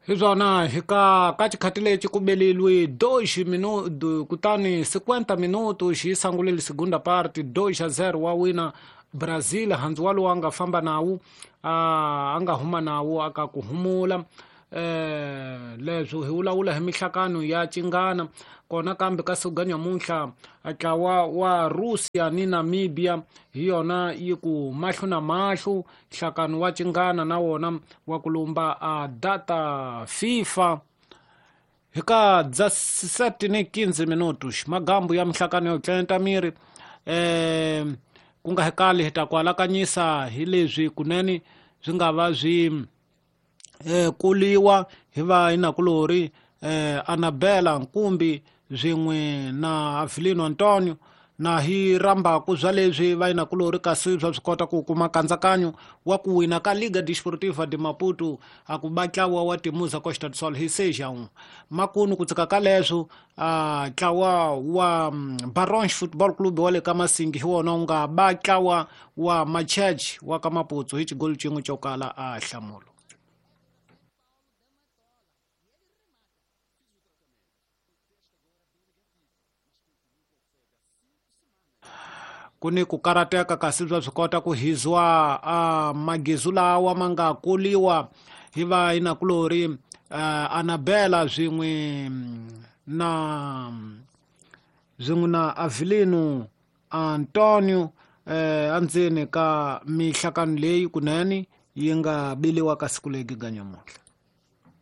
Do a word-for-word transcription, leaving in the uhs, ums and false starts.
Hi swona hi ka ka xikhati lexi ku beleliwe dois minuto kutani cinquenta minuto xi sangulele segunda parte dois a zero wa wina Brazil handzu wa lowu a nga famba nawu a nga huma nawu aka ku humula eh leswo hi vulavula hi mihlakano ya cingana kona kambe ka siku nyamuntlha ntlawa wa Russia ni Namibia hi yona yi ku mahlo na mahlo nhlakano wa cingana na wona wa ku lumba a data FIFA hi ka dezessete ni quinze minutos magambu ya mihlakano yo tlenta miri eh ku nga hekali hi ta ku alakanyisa hi leswi kunene swi nga va swi eh kuliwa hi va inakulori eh Anabela Nkumbi swin'we na Avelino Antonio na hi rambaku bya leswi va inakulori kasi swa swi kota ku kuma kandzakanyo wa ku wina ka Liga Desportiva de Maputo a ku ba ntlawa wa Timuza Costa do Sol hi seis a um makunu ku tsika ka leswo a ntlawa wa Barons Football Club wa le ka Masingi hi wona wu nga ba ntlawa wa Machech wa ka Maputo hi xigolo xin'we xo kala a hlamulo. Kuni ku karateka kasi bya swi kota ku hizwa a magizu lawa ma nga kuliwa hi va inakulori Anabela swin'we na swin'we na Avelino Antonio eh andzeni ka mihlakano leyi kunene yi nga biliwa ka siku legi ga nyamuntlha.